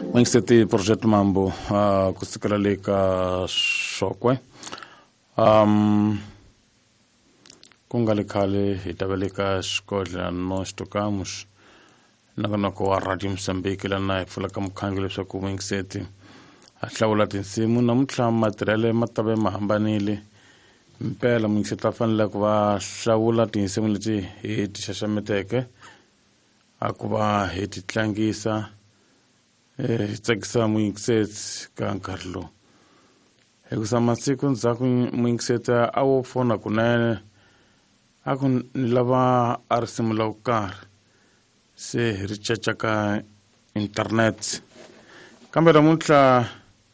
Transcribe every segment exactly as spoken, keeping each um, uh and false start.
N'wingiseti Project Mambo uh, kusukela le ka Xokwe. Um, ku nga le khale hi ta va le ka xikodla Nós Tocamos nongonoko wa Radio Mozambique lana hi pfulaka mukhangi leswaku n'wingiseti a hlawula tinsimu. Namuntlha matirhele ma ta ve ma hambanile mpela, muyingiseti a fanele ku va hlawula tinsimu leti hi ti xaxameteke a ku va hi ti tlangisa hi tsakisa muyingiseti ka nkarhi lowu, hikusa masiku ndzhaku muyingiseti a wo fona kunene a ku ni lava a risimu la ku karhi, se hi ri caca ka internet. Kambe namuntlha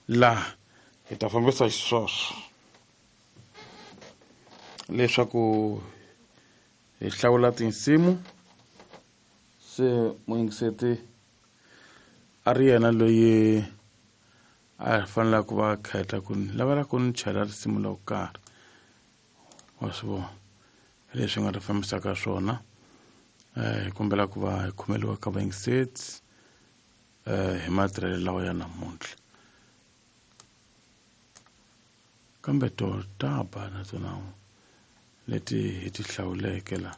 laha hi ta fambisa xisweswo leswaku hi hlawula tinsimu, se muyingiseti a ri yena loyi a fanele ku va khetha ku ni lavela ku ni chela risimu la ku karhi, wa swi vona leswi nga ta fambisaka swona. Hi kombela ku va hi khomeliwa ka vayingiseti hi matirhelo lawa ya namuntlha, kambe to ta ba na tona leti hi ti hlawuleke la,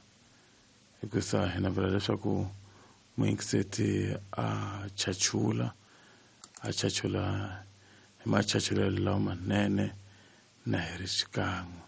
hikusa hi navela leswaku muyingiseti a chachula a chachula hi machachulelo lawa manene na hi ri xikan'we.